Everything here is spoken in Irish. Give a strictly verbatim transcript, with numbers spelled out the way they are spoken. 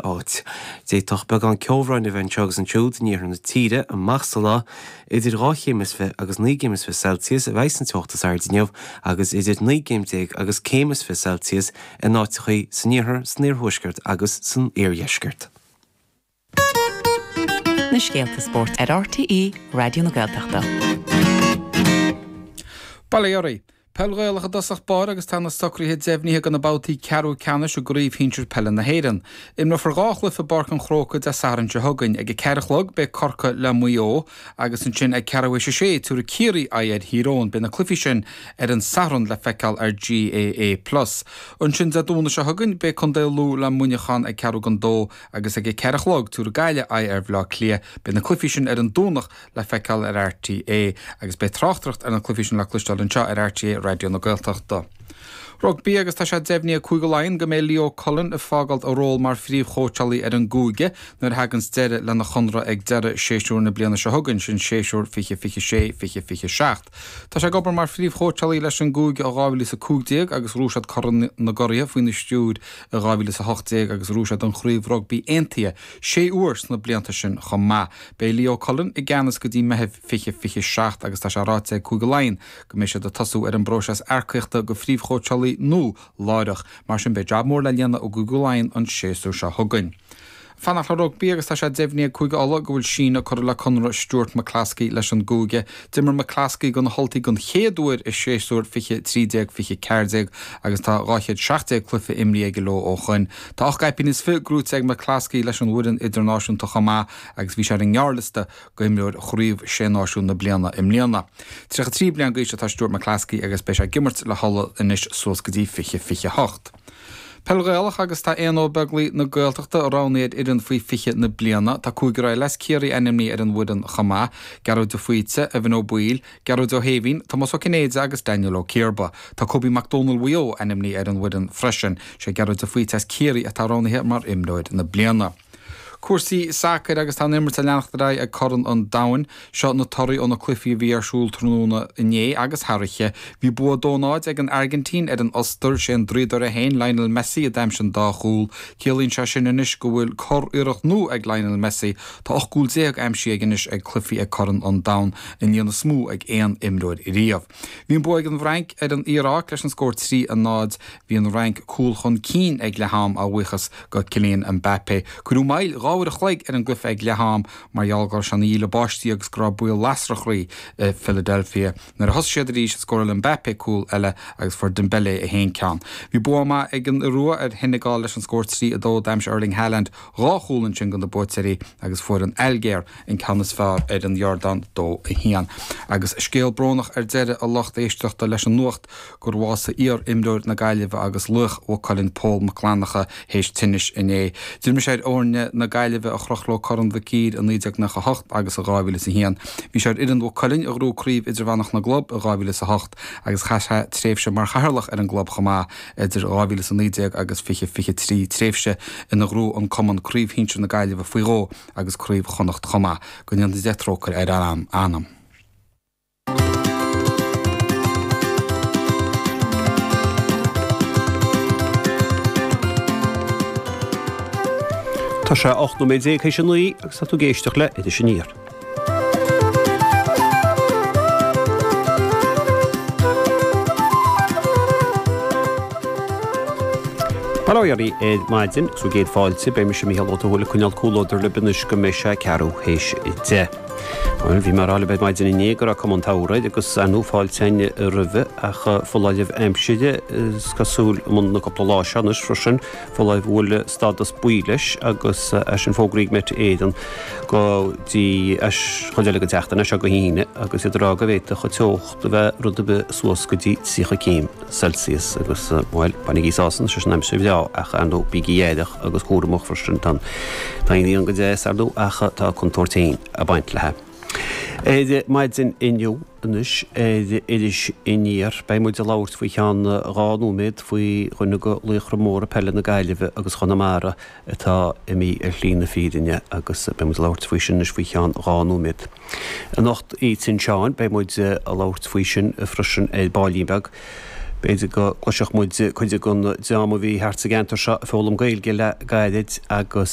áit. D'fhéadfadh beagán ceobhráin a bheith anseo agus ansiúd in iarthar na tíre amach sa lá, idir dhá chéim is fiche agus naoi gcéim is fiche Celsius a bheidh an teocht is airde inniu agus idir naoi gcéim déag agus céim is fiche Celsius in áiteachaí san iarthar, san iarthuaisceart agus san iardheisceart. Na scéalta spóirt ar RTÉ Raidió na Gaeltachta. Bail ó Dhia oraibh. Peil Ghaelach i dtosach báire agus tá na socruithe deimhnithe do na babhtaí ceathrú ceannais i gCraobh Shinsir Peile na hÉireann. Imreofar dhá chluiche i bPáirc an Chrócaigh Dé Sathairn seo chugainn. Ag a ceathair a chlog beidh Corcaigh le Maigh Eo agus ansin ag ceathrú théis a sé tabharfaidh Ciarraí aghaidh ar Thír Eoghain. Beidh na cluichí sin ar an Satharn le feiceáil ar GAA Plus. Ansin Dé Domhnaigh seo chugainn beidh Contae Lú le Muineachán ag ceathrú don dó agus ag a ceathair a chlog tabharfaidh Gaillimh aghaidh ar Bhaile Átha Cliath. Beidh na cluichí sin ar an Domhnach le feiceáil ar RTÉ agus beidh tráchtaireacht ar na cluichí sin le cloisteáil anseo ar RTÉ Raidió na Gaeltachta. Rugbaí agus tá sé deimhnithe ag Cúige Laighean go mbeidh Leo Cullen ag fágáil a ról mar phríomhchóitseálaí ar an gcúige nuair a thaganns deireadh lena chonradh ag deireadh séasúr na bliana seo chugainn, sin séasúr fiche fiche sé, fiche fiche seacht. Tá sé ag obair mar phríomhchóitseálaí leis an gcúige ó dhá mhíle is a cúig déag agus ghnóthaigh siad Corn na gCuraithe faoina stiúir i dhá mhíle is a hocht déag agus ghnóthaigh siad an Chraobh Rugbaí Aontaithe sé huair sna blianta sin chomh maith. Beidh Leo Cullen i gceannas go dtí Meitheamh fiche fiche seacht agus tá sé ráite ag Cúige Laighean go mbeidh siad ag tosú ar an bpróiseas earcaíochta do phríomhchóitseálaí nua láithreach. Mar sin beidh jab mór le déanamh i gCúige Laighean an séasúr seo chugainn. Fanacht le rugbaí agus tá sé deimhnithe ag Cúige Uladh go bhfuil síneadh curtha le conradh Stuart McCloskey leis an gcúige. D'imir McCloskey do na hUltaigh den chéad uair i séasúr fiche trí déag fiche ceathair déag agus tá dhá chéad seacht déag cluiche imrithe aige leo ó shoin. Tá ocht gcaipín is fiche gnóthaithe ag McCloskey leis an bhfoireann idirnáisiúnta chomh maith agus bhí sé ar an ngearrliosta d'imreoir Chraobh Sé Náisiún na bliana i mbliana. Tríocha trí bliain d'aois atá Stuart McCloskey agus beidh sé ag imirt le hUlaidh anois suas go dtí fiche fiche hocht. Peil Ghaelach agus tá Éanna Ó Beaglaoi na Gaeltachta roghnaithe ar fhoireann faoi fiche na bliana. Tá cúigear eile as Ciarraí ainmnithe ar an bhfoireann chomh maith, Gearóid de Faoite, Evan Ó Baoill, Gearóid Ó hÉimhín, Tomás Ó Cinnéide agus Daniel Ó Ciarba. Tá Kobe Mac Dónaill Mhaigh Eo ainmnithe ar an bhfoireann freisin. Sé Gearóid de Faoite as Ciarraí atá roghnaithe mar imreoir na bliana. Cúrsaí sacair agus tá an imirt ag leanacht ar aghaidh ag Corn an Domhain. Seo na torthaí ó na cluichí a bhí ar siúl tráthnóna inné agus thar oíche. Bhí bua a dó náid ag an Airgintín ar an Ostair, sé an draíodóir é féin, Lionel Messi, a d'aimsigh an dá chúl. Ciallaíonn sé sin anois go bhfuil curiarracht nua ag Lionel Messi. Tá ocht gcúl déag aimsithe aige anois ag cluichí ag Corn an Domhain, an líon is mó ag aon imreoir riamh. Bhí an bua ag an bhFrainc ar an Iaráic leis an scór trí a náid. Bhí an Fhrainc cúl chun cinn ag leath am a bhuíochas go Kylian Mbappé. Cuireadh moill dhá uair a chloig ar an gcluiche ag leath am mar gheall go raibh sé ina dhíle báistí agus go raibh baol lasrach i Philadelphia. Nuair a thosaigh siad arís scóráil Mbappé cúl eile agus fuair Dembele a haon ceann. Bhí bua maith ag an Iorua ar Sheinegal leis an scór trí a dó. D'aimsigh Erling Haaland dhá chúl ansin do na buaiteoirí agus fuair an Ailgéir an ceann is fearr ar an Iordáin dó a haon. Agus scéal brónach ar deireadh a lucht éisteachta leis an nuacht gur bhásaigh iar-imreoir na Gaillimhe agus laoch Mhaigh Cuilinn Pól Mac Fhlannchadha théis tinnis inné. D'imir sé ar fhoirne na Gaillimhe a chroch leo Corn Mhic Uidhir i naoi déag nócha a hocht agus i dhá mhíle is a haon. Bhí sé ar fhoireann Mhaigh Cuilinn a ghnóthaigh Craobh Idirmheánach na gClub i dhá mhíle is a hocht agus chaith sé tréimhse mar chathaoirleach ar an gclub chomh maith idir dhá mhíle is a naoi déag agus fiche fiche trí, tréimhse ina ghnóthaigh an cumann Craobh Shinsir na Gaillimhe faoi dhó agus Craobh Chonnacht chomh maith. Go ndéana Dia trócaire ar a anam. Tá sé ocht nóiméad déag théis a naoi agus tá tú ag éisteacht le Iris Aniar. Bail ó Dhia oraibh ar maidin agus bhur gcéad fáilte. Beidh mise Mícheál Ó Tuathail ag coinneáil comhluadar libh anois go mbeidh sé ceathrú théis a deich. Bhuel, bhí mé ag rá libh ar maidin inné go raibh cuma an tsamhraidh agus ar ndóigh fáilte againn roimhe ach foláireamh aimsire is cosúil i mbun na cúpla lá seo anois freisin, foláireamh a bhfuil stádas buí leis agus é sin fógraithe ag Met Éireann go dtí an chuid eile den tseachtain, as seo go hAoine, agus iad ag rá go bhféadfadh an teocht a bheith rud ar bith suas go dtí tríocha céim Celsius agus, bhuel, bainigí sásamh, sé sin aimsir bhreá ach, ar ndóigh, bígí aireach agus cúramach freisin, tá an ghrian go deas, ar ndóigh, ach tá a contúirt féin ag baint léi. Ar maidin inniu anois ar Iris Aniar beidh muid ag labhairt faoi cheann dhá nóiméad faoi dhuine de laochra móra peile na Gaillimhe agus Chonamara atá imithe ar shlí na fírinne agus beidh muid ag labhairt faoi sin anois faoi cheann dhá nóiméad. Anocht Oíche tSin Seáin beidh muid ag labhairt faoi sin freisin ar baillín beag. B'fhéidir go gcloisfeadh muid cuid den dream a bhí thart sa gceantar seo ag foghlaim Gaeilge le gairid agus